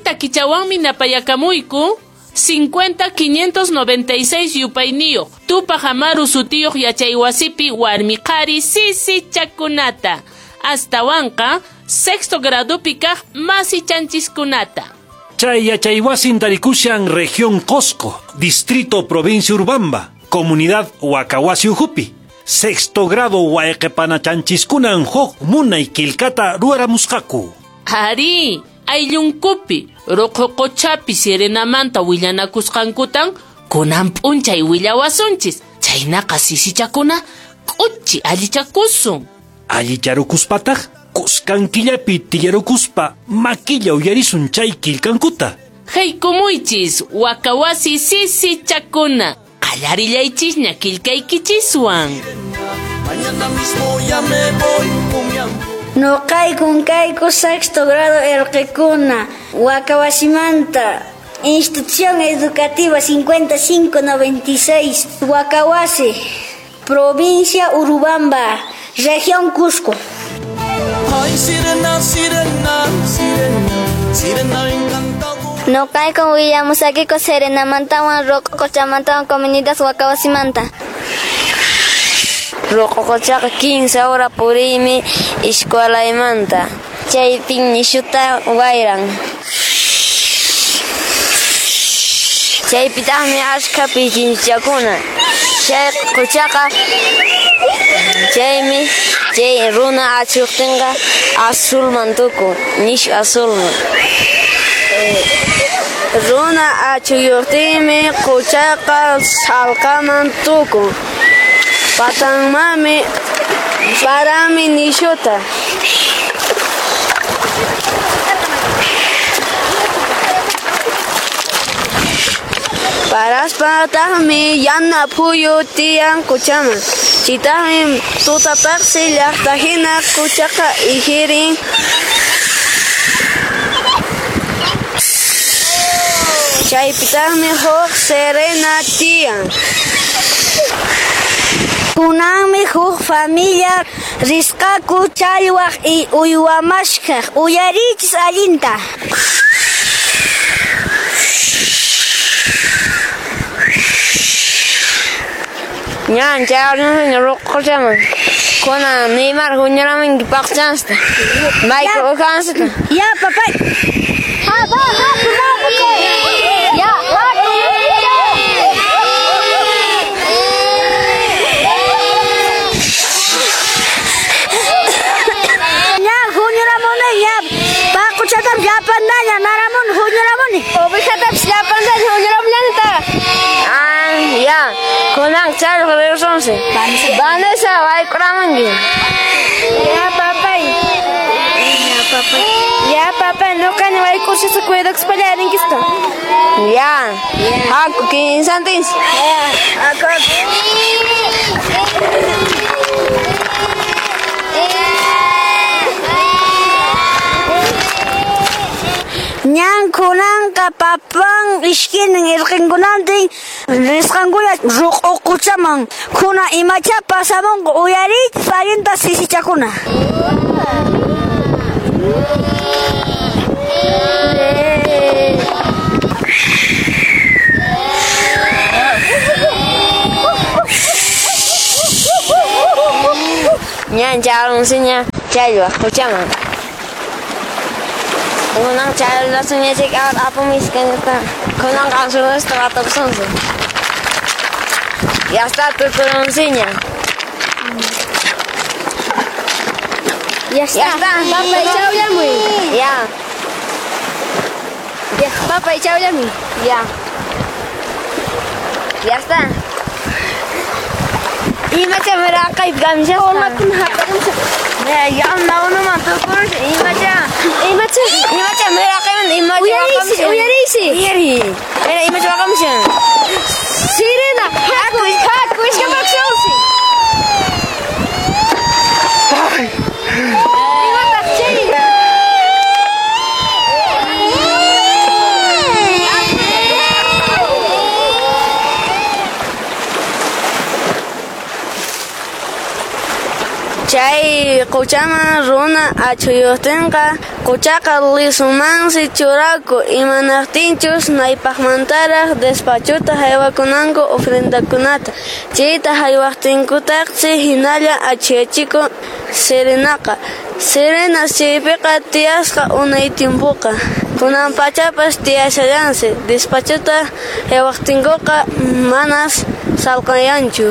Takichawanmi napayakamuyku 50 596 yupayniyuq Tupaq Amaru sutiyuq yachaywasipi warmi qhari sisichakunata, astawanqa sexto gradupi kaq masichanchiskunata. Chay yachaywasin tarikushan región Cosco, distrito provincia Urubamba, comunidad Huacahuasi ukhupi. Sexto grado wayqipanachanchis-kunan huk munay kilkata ruwaramusqaku. Arí, ayllunkupi ruqhu quchapi sirenamanta willanakusqankutan kunan p'unchay willawasunchis. Chaynaqa sisichakuna k'uchi allichakusun. Allicharukuspataq kuskan killapi tiyarukuspa makilla uyarisun chay kilkankuta. Haykumuychis Huacahuasi sisichakuna. Qallarillaychisña kilkaykichiswan. Mañana mismo ya me voy con mi amor. Noqaykun kayku sexto grado erqekuna, Huacahuasimanta, Institución Educativa 5596, Huacahuasi, provincia Urubamba, región Cusco. Ay, sirena, sirena, sirena, sirena encantadora. Noqaykun willamusaykiku Serenamantawan Ruq'u Quchamantawan comunidad Huacahuasimanta. Ruq'u quchaqa 15 hora puriymi escuelaymanta. Chaypin nishuta wayran. Chaypitaqmi achka pichinchakuna. Chay quchaqa chaymi chay runa achuqtinqa azulman tukun, nishu azulman. Runa achuyuqtinmi quchaqa sallqaman tukun. Patanmanmi parami nishuta. Paraspataqmi yana phuyu tiyan quchaman. Chaytaqmi tutapaqsi llaqtahina quchaqa ihirin. Chaypitaqmi huk serena tiyan. Kunanmi huk familia risqaku challwaq y uywa maskhaq. Uyariychis allinta. Ñan chayarunña ruq'u quchaman. Kunan Neymar huñuramunki paqchansta. Michael ujansita. Ya, papá. Ya, ña huñuramuni ña paquchatam llapantaña naramuni huñuramuni. Ovejatapis llapantaña huñuramunanta. Ah, ya. Kunan challwaq rirusunsi. Vanessa wayk'uramunki. Ya, papay. Ya, papay. Ya, papay, nuqani wayk'ushasqa cuidakuspalla rinkista. Ya. Haku kinsantinsi. Ya, haku. Ñan kunanqa papan ishkinin irqinkunantin risqankuña ruq'u quchaman kuna imacha pasamunqa uyariychis allinta sisichakuna. Ñan chayarunsiña challwaq quchaman. Kunan chayarunsiña chay apamusqankuta kunan qansunasta watapusunsi. Ya está tukurunsiña. Ya está. Ya está. Papay, chawllamuy. Ya. Ya, papay, chawllamuy. Ya. Ya está. Imacha miraqaypi kamishasqa. Umakuna haparimusaq. Mira, ya unuman tukurushan. Imacha. Imacha. Imacha miraqayman imacha Uyariysi, waqamushan. uyariysi. Uyariy. Mira, imacha waqamushan. Sirena, haku, haku, iskapakusunsi. Imataq chay? Chay quchaman runa achuyuqtinqa Quchaqa lisumansi churaku imanaqtinchus naypaqmantaraq despachuta haywakunanku ofrendakunata. Chayta haywaqtinkutaqsi hinalla achhiachikun sirenaqa. Sirenas chaypiqa tiyasqa unay tiempoqa. Kunan pachapas tiyashallansi despachuta haywaqtinkuqa manas salqayanchu.